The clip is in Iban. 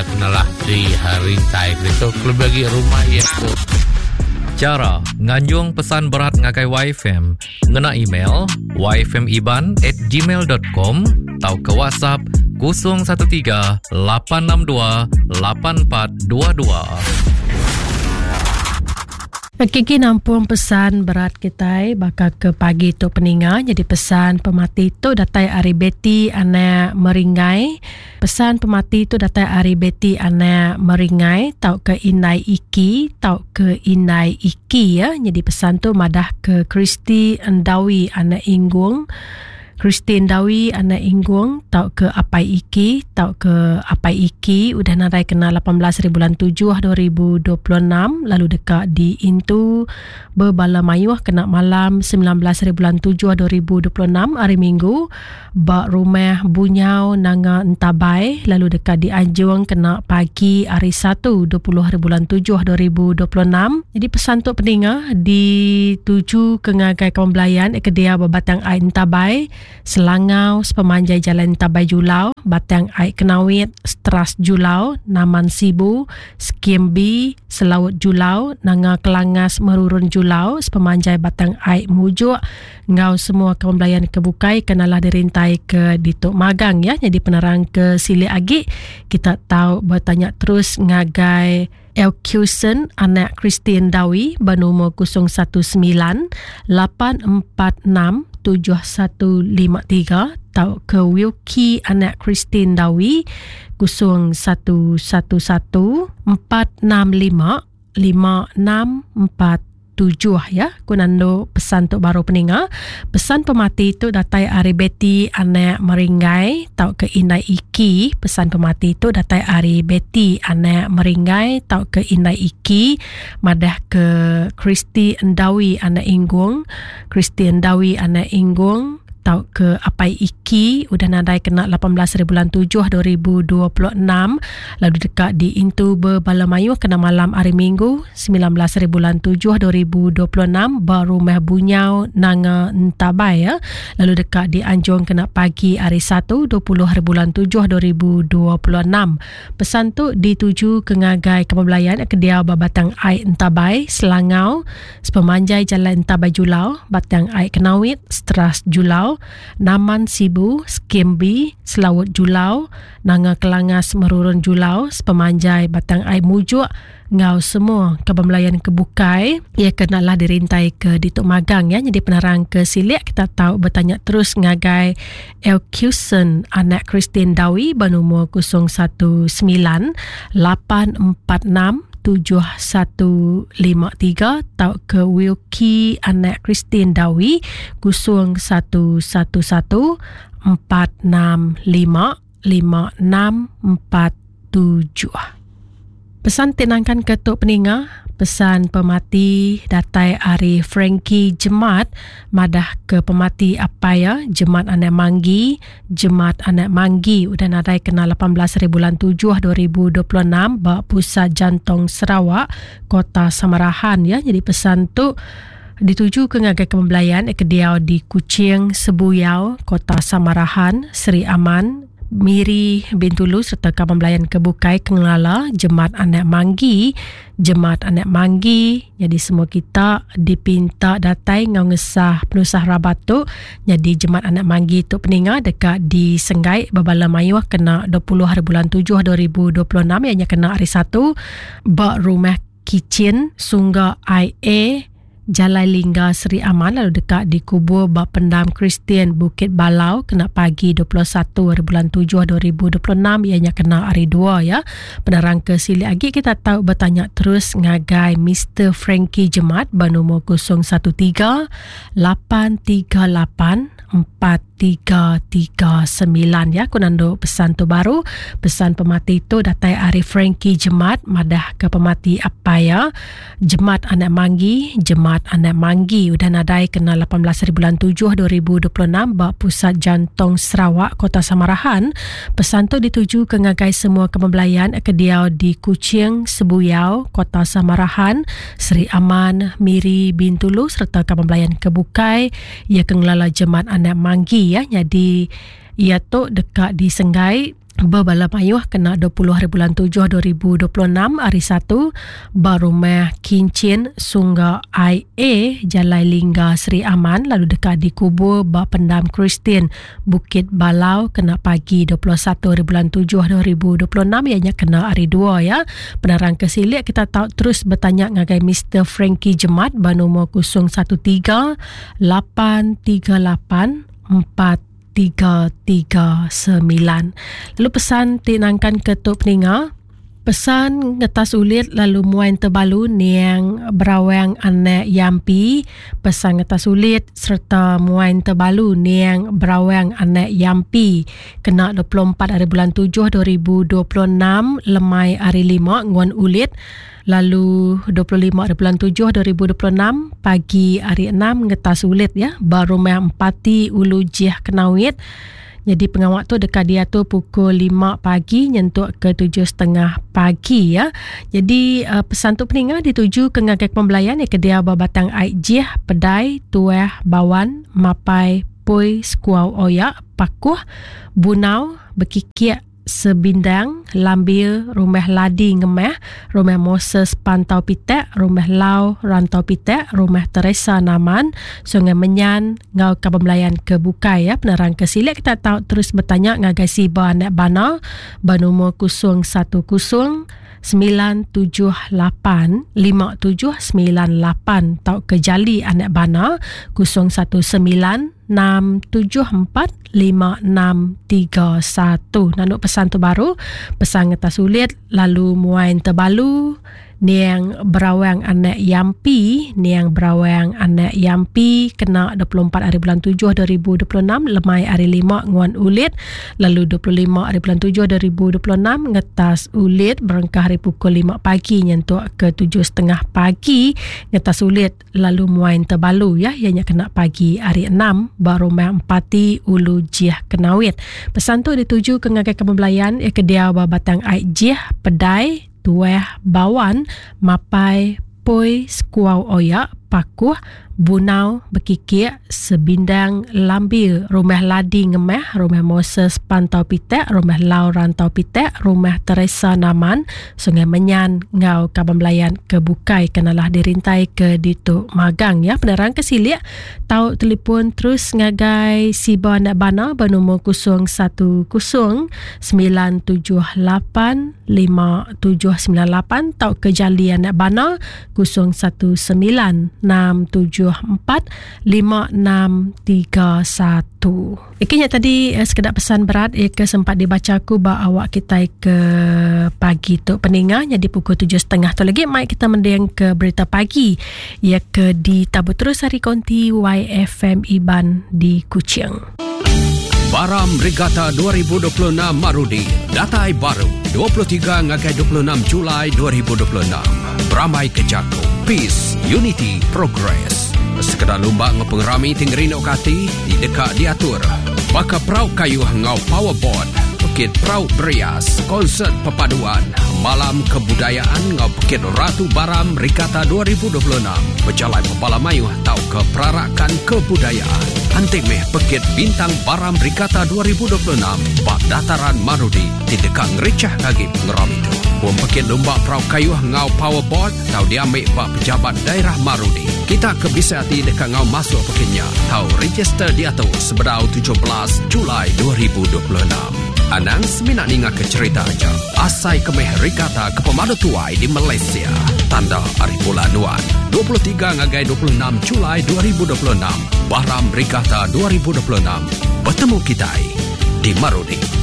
iya kenalah di rintai ke ditu kelebih agi rumah iya tu. Chara nganjung pesan berat ngagai YFM ngena email yfmiban at gmail.com tauka WhatsApp 013 862 8422. Kiki nampung pesan berat kitai baka ke pagi tu peninga jadi pesan pemati tu datai ari Betty anak Meringai. Pesan pemati tu datai ari Betty anak Meringai tauka Indai Iki tauka Indai Iki ya. Jadi pesan tu madah ke Christy Endawi anak Inggung. Christy Endawi anak Inggung tauka Apai Iki tauka Apai Iki udah nadai kena 18 hari bulan 7 2026 lalu deka diintu bebala mayuh kena malam 19 hari bulan 7 2026 hari Minggu ba Rumah Bunyau Nanga Entabai lalu deka dianjung kena pagi hari Satu 20 hari bulan 7 2026. Jadi pesan tu peninga dituju ke ngagai kawan belayan ke dia ba Batang Ai Entabai, Selangau sepemanjai Jalan Entabai Julau, Batang Ai Kenawit, Stras Julau, Naman Sibu, Skim B, Selaut Julau, Nanga Kelangas Merurun Julau sepemanjai Batang Ai Mujuk enggau semua kaban belayan ke bukai ke nalah dirintai ke ditu magang ya. Nyadi penerang ke silik agi kita tau betanya terus ngagai Elkewson anak Christine Dawi ba nomor 019 846 7153 tauka Wilkie anak Christine Dawi 0111 465 5647 ya. Ku nandu pesan tu baru peninga. Pesan pemati tu datai ari Betty anak Meringgai tauka Indai Iki. Pesan pemati tu datai ari Betty anak Meringgai tauka Indai Iki madah ke Christy Endawi anak Inggung. Christy Endawi anak Inggung tauka Apai Iki udah nadai kena 18 hari bulan 7 2026 lalu deka diintu bebala mayuh kena malam hari Minggu 19 hari bulan 7 2026 ba Rumah Bunyau Nanga Entabai ya. Lalu deka dianjung kena pagi hari Satu 20 hari bulan 7 2026. Pesan tu dituju ke ngagai kaban belayan ke diau ba Batang Ai Entabai, Selangau, sepemanjai Jalai Entabai Julau, Batang Ai Kenawit, Stras Julau, Naman Sibu, Skim B, Selaut Julau, Nanga Kelangas Merurun Julau, sepemanjai Batang Ai Mujuk enggau semua kaban belayan ke bukai. Iya ke nalah dirintai ke ditu magang ya. Nyadi penerang ke silik kita tau betanya terus ngagai Elkewson anak Christine Dawi ba nomor 019 846 7153 tauka Wilkie anak Christine Dawi 0111 465 5647. Pesan ti nangkan ke tu peninga, pesan pemati datai ari Frankie Jemat madah ke pemati apai iya Jemat anak Manggi, Jemat anak Manggi udah nadai kena 18 hari bulan 7 2026 ba Pusat Jantung Sarawak, Kota Samarahan ya. Jadi pesan tu dituju ke ngagai kebelayan ke diau di Kuching, Sebuyau, Kota Samarahan, Sri Aman, Miri, Bintulu sereta kaban belayan ke bukai ke ngelala Jemat Anak Manggi, Jemat Anak Manggi. Nyadi semua kita dipinta datai enggau ngesah penusah rabat tu. Nyadi Jemat Anak Manggi tu peninga deka disenggai bebala mayuh kena 20 hari bulan 7 2026 iya nya kena hari Satu ba Rumah Kichin Sungga IA Jalai Lingga Sri Aman lalu deka dikubur ba Pendam Kristian Bukit Balau kena pagi 21 hari bulan 7 2026 iya nya kena hari Dua ya. Penerang ke silik agi kita tau betanya terus ngagai Mister Frankie Jemat ba nomor 013 838 4 339 ya ku nandu pesan tu baru pesan pemati tu datai ari Frankie Jemat madah ke pemati apai ya Jemat anak Manggi Jemat anak Manggi udah nadai kena 18 hari bulan 7 2026 ba Pusat Jantung Sarawak Kota Samarahan pesan tu dituju ke ngagai semua kebelayan ke diau di Kuching Sebuyau Kota Samarahan Sri Aman Miri Bintulu serta kaban belayan ke bukai Iya ke ngelala jeman anak Manggi ya nyadi iya tu deka disenggai. Bebala mayuh kena 20 hari bulan 7 2026 hari Satu ba Rumah Kinchin Sungga IA Jalai Lingga Sri Aman lalu deka dikubur ba Pendam Kristian Bukit Balau kena pagi 21 hari bulan 7 2026 iya nya kena hari Dua ya. Penerang ke silik kita tau terus betanya ngagai Mister Frankie Jemat ba nomor 013 838 4 339. Lalu pesan ti nangkan ke tu peninga, pesan ngetas ulit lalu muai tebalu niang berawang anak Yampi, pesan ngetas ulit serta muai tebalu niang berawang anak Yampi kena 24 hari bulan 7 2026 lemai hari 5 nguan ulit lalu 25 hari bulan 7 2026 pagi hari 6 ngetas ulit ya ba rumah Empati Ulu Jih Kenawit. Jadi pengawak tu dekat dia tu pukul 5 pagi nyentuk ke 7.30 pagi ya. Jadi pesan tu peninga dituju ke ngagai pembelayan ya ke dia ba Batang Ai Jih, Pedai, Tuah, Bawan, Mapai, Pui, Sekuau Oyak, Pakuh, Bunau, Bekikik, Sebindang, Lambir, Rumah Ladi Ngemah, Rumah Moses Pantau Pitak, Rumah Lau Rantau Pitak, Rumah Teresa Naman, Sungai Menyan, ngau kaban belayan ke bukai ya. Penerang ke silik kita tahu terus bertanya ngagai Siba Anak Bana bernomor 010 978 5798 tau ke Jali Anak Bana 019 674 5631. Nanduk pesan tu baru, pesan ngetas ulit lalu muai tebalu niang berawang anak Yampi, niang berawang anak Yampi kena 24 hari bulan 7 2026 lemai hari 5 nguan ulit lalu 25 hari bulan 7 2026 ngetas ulit berengkah hari pukul 5 pagi nyentuk ke 7.30 pagi ngetas ulit lalu muai tebalu ya ianya kena pagi hari 6 ba rumah Empati Ulu Jih Kenawit. Pesan tu dituju ke ngagai kebelayan ya ke dia ba Batang Ai Jih, Pedai, Tuah, Bawan, Mapai, Poi, Sekuau Oyak, Pakuh, Bunau, Bekikik, Sebindang, Lambir, Rumah Ladi Ngemah, Rumah Moses Pantau Pitak, Rumah Lau Rantau Pitak, Rumah Teresa Naman, Sungai Menyan, ngau kaban belayan ke bukai kenalah dirintai ke ditu magang ya. Penerang ke silik tau telefon terus ngagai Siba Anak Bana bernomor 010 978 5798 tau ke Jali Anak Bana 019 674 5631. Okey nya tadi sekedar pesan berat ya ke sempat dibaca aku ba awak kita ke pagi tu peninga jadi pukul 7.30 tu lagi mai kita mending ke berita pagi ya ke di Tabu Terus hari konti YFM Iban di Kuching. Baram Regatta 2026 Marudi datai baru 23 ngagai 26 Julai 2026. Beramai ke jaku Peace, Unity, Progress. Sekeda lumba enggau pengerami ti ngerinduka ati ti deka diatur baka perau kayuh enggau powerboat, pekit perau berias, konsert perpaduan, malam kebudayaan enggau pekit Ratu Baram Regatta 2026 bejalai bebala mayuh tauka perarakan kebudayaan. Anti meh pekit Bintang Baram Regatta 2026 ba Dataran Marudi ti deka ngerichah agi pengerami tu. Pom pekit lumba perau kayuh enggau powerboat tau diambi ba pejabat daerah Marudi. Kita ke bisi ati deka ngau masuk pekit nya tau register diatu sebedau 17 Julai 2026. Anang semina ninga ke cerita aja. Asai ke meh regatta ke pemadu tuai di Malaysia. Tanda ari bulan nuan. 23 ngagai 26 Julai 2026. Baram Regatta 2026. Betemu kitai di Marudi.